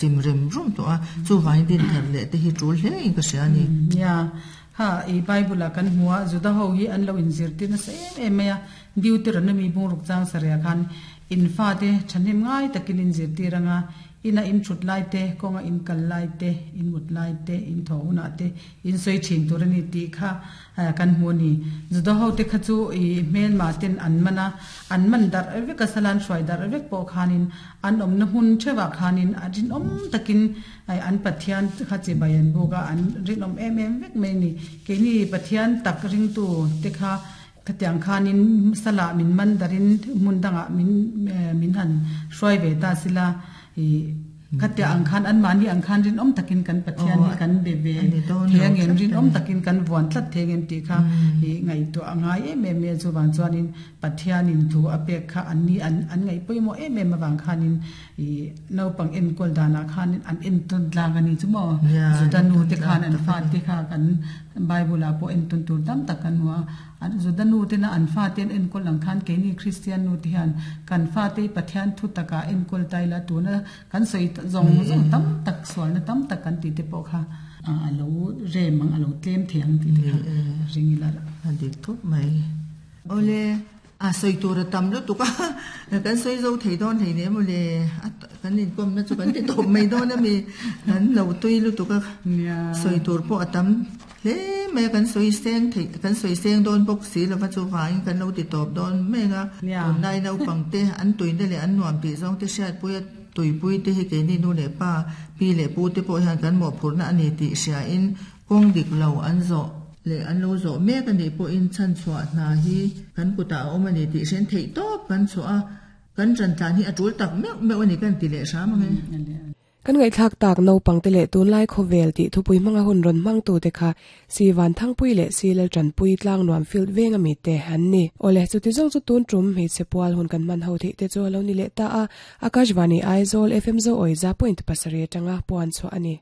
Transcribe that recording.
Chim rem rum tawh a, chuvangin din thar leh te hi tul hle in ka hria a ni. Nia, kha i Bible ah kan hmu a, Juda ho hi an lo inzirtir nasa em em mai a, Deuteronomy bungruk chang sarih ah khan in fate thahnem ngai takin inzirtir anga, ina in thut lai te, kawnga in kal lai te, in mut lai te, in thaw hunah te in sawi thin tur a ni tih kha Kan hmu a ni. Juda hote kha chu i hmelma ten an man a, an man darh vek a, salan hruai darh vek pawh khanin an awmna hmun theuhah khanin a rinawm takin an Pathian kha chibai an buk a, an rinawm em em vek mai a ni. Keini Pathian tak ringtu te kha khatiang khanin salah min man darhin hmun dangah min min han hruai ve ta sila i Khatia ang khan anmahni ang khan rinawm takin kan Pathian hi kan be ve thei angem, rinawm takin kan vuan tlat thei angem tih kha i ngaihtuah a ngai em em mai a. Chuvang chuanin Pathianin thu a pek kha anni an an ngaih pawimawh em em avang khanin i naupang enkawl danah khanin an entawn tlang a ni chu maw. Juda nu te khan an fate kha kan Bible ah pawh entawn tur tam tak kan hmu a. An Juda nu tena an fate an enkawl ang khan keini Kristian nu te hian kan fate hi Pathian thu takah enkawl ta ila tuna kan sawi zawng zawng tam tak sualna tam tak kan tih te pawh kha a lo rem ang a lo tlem thei ang tih te kha ring ila. A dik thawp mai. Awle a sawi tur a tam lutuk a kan sawi zo thei dawn hlei nem awle a kan inkawmna chu kan ti tawp mai dawn ami kan lo tui lutuk a sawi tur pawh a tam. Hle mai a, kan sawi seng theih, kan sawi seng dawn bawk si lova chuvangin kan lo ti tawp dawn mek a, tunlai naupang te an tuina leh an nuam tih zawng te hriatpui a tuipui te hi keini nu leh pa, pi leh pu te pawh hian kan mawhphurhna a ni tih hriain kawng dik lo an zawh leh an lo zawh mek a nih pawhin chhanchhuah hna hi kan kutah a awm a ni tih hriain theih tawp kan chhuah a, kan ṭantlan hi a ṭul tak meuh meuh a ni kan ti leh hram ang e. Kan ngaihthlak tak naupangte leh tunlai khawvel tih thupui hmanga hun rawn hmangtute kha Si Vanthangpui leh Si Laltanpui Tlangnuam Field veng ami te an ni. Awle, chuti zawng chu tun tum hmeichhe pual hun kan hman ho theih te chu a lo ni leh ta a, Akashvani Aizawl FM Zo Awiza point pasarih atanga puan chhuah a ni.